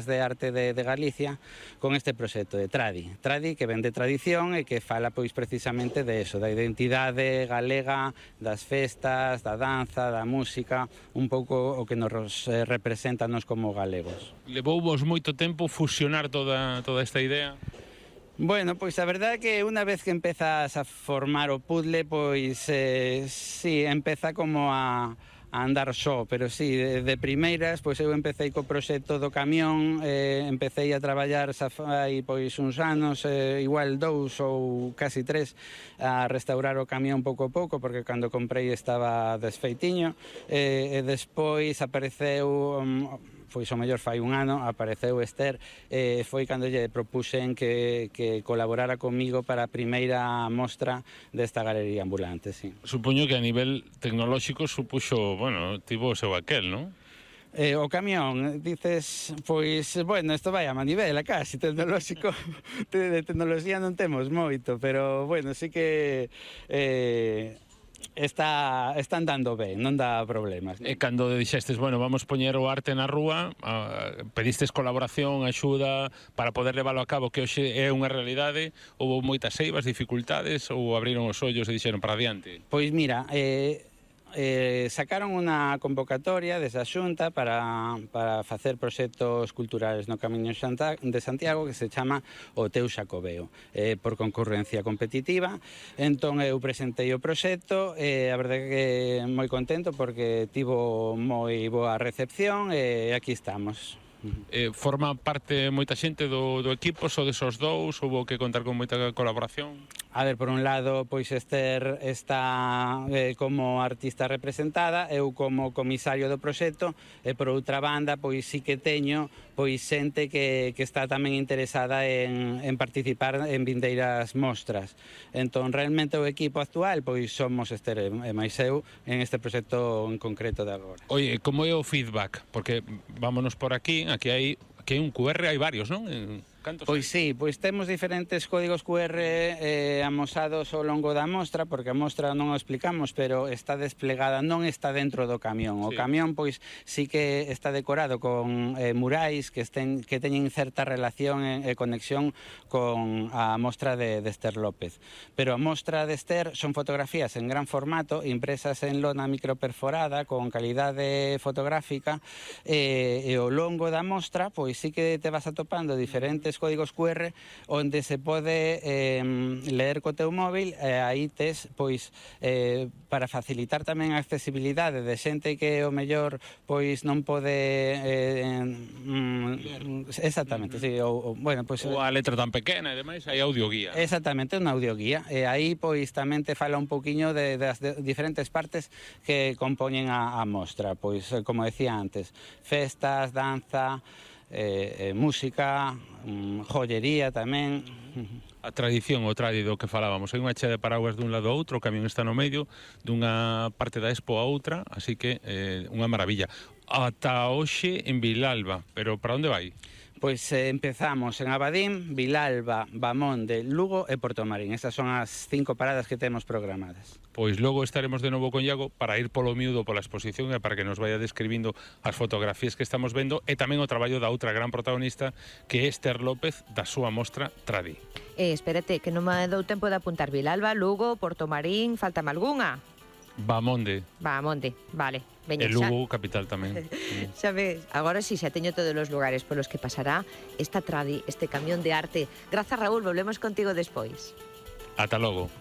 de arte de Galicia con este proxecto de Tradi. Tradi que ven de tradición e que fala pois precisamente de eso, da identidade galega, das festas, da danza, da música, un pouco o que nos representa nos como galegos. Levouvos moito tempo fusionar toda esta idea? Bueno, pois a verdade é que unha vez que empezas a formar o puzzle, pois sí, empeza como a andar só, pero sí, de primeiras, pois eu empecé co proxecto do camión, empecé a traballar xa fai pois uns anos, igual 2 ou casi 3, a restaurar o camión pouco a pouco, porque cando comprei estaba desfeitiño, e despois apareceu, pois o mellor fai un ano, apareceu Esther, foi cando lle propuxen que colaborara comigo para a primeira mostra desta galería ambulante, sí. Supoño que a nivel tecnolóxico supuxo, bueno, tivo o seu aquel, non? O camión, dices, pois, bueno, isto vai a manivela casi, tecnolóxico, de tecnoloxía non temos moito, pero, bueno, sí que está andando ben, non dá problemas. E cando dixestes, bueno, vamos poñer o arte na rúa, pedistes colaboración, axuda para poder leválo a cabo, que hoxe é unha realidade, houve moitas eivas, dificultades, ou abriron os ollos e dixeron para adiante? Pois mira, sacaron unha convocatoria desa xunta para facer proxectos culturales no Camiño de Santiago que se chama o Teu Xacobeo, por concurrencia competitiva. Entón eu presentei o proxecto e a verdade que moi contento porque tivo moi boa recepción e aquí estamos. Forma parte moita xente do equipo, só desos dous, houve que contar con moita colaboración? A ver, por un lado, pois Esther está como artista representada, eu como comisario do proxecto, e por outra banda, pois sí que teño pois xente que está tamén interesada en participar en vindeiras mostras. Entón, realmente o equipo actual, pois somos Esther e máis eu en este proxecto en concreto de agora. Oye, como é o feedback? Porque vámonos por aquí hai un QR, hai varios, non? Pois sí, pois temos diferentes códigos QR amosados ao longo da mostra, porque a mostra non o explicamos, pero está desplegada, non está dentro do camión. O camión, pois, sí que está decorado con murais que teñen certa relación e conexión con a mostra de Esther López. Pero a mostra de Esther son fotografías en gran formato, impresas en lona microperforada, con calidade fotográfica, e ao longo da mostra, pois sí que te vas atopando diferentes códigos QR onde se pode ler co teu móvil, aí tes, pois, para facilitar tamén a accesibilidade de xente que o mellor pois non pode exactamente, sí, bueno, pois ou a letra tan pequena e demais, hai audioguía. Exactamente, unha audioguía, e aí pois tamén te fala un poquiño das diferentes partes que compoñen a mostra, pois como decía antes, festas, danza, música, joyería tamén. A tradición, o tradi do que falábamos, hai unha chea de paraguas dun lado a outro, o camión está no medio dunha parte da expo a outra, así que unha maravilla. Ata hoxe en Vilalba, pero para onde vai? Pois empezamos en Abadín, Vilalba, Bamonde, Lugo e Portomarín. Estas son as 5 paradas que temos programadas. Pois logo estaremos de novo con Iago para ir polo miúdo pola exposición e para que nos vaya describindo as fotografías que estamos vendo e tamén o traballo da outra gran protagonista que é Esther López da súa mostra Tradi. Espérate, que non me dou tempo de apuntar Vilalba, Lugo, Portomarín, faltame algunha? Bamonde, vale. Veña, e Lugo, capital tamén. Xa ves, agora sí, xa teño todos os lugares polos que pasará esta Tradi, este camión de arte. Grazas, Raúl, volvemos contigo despois. Ata logo.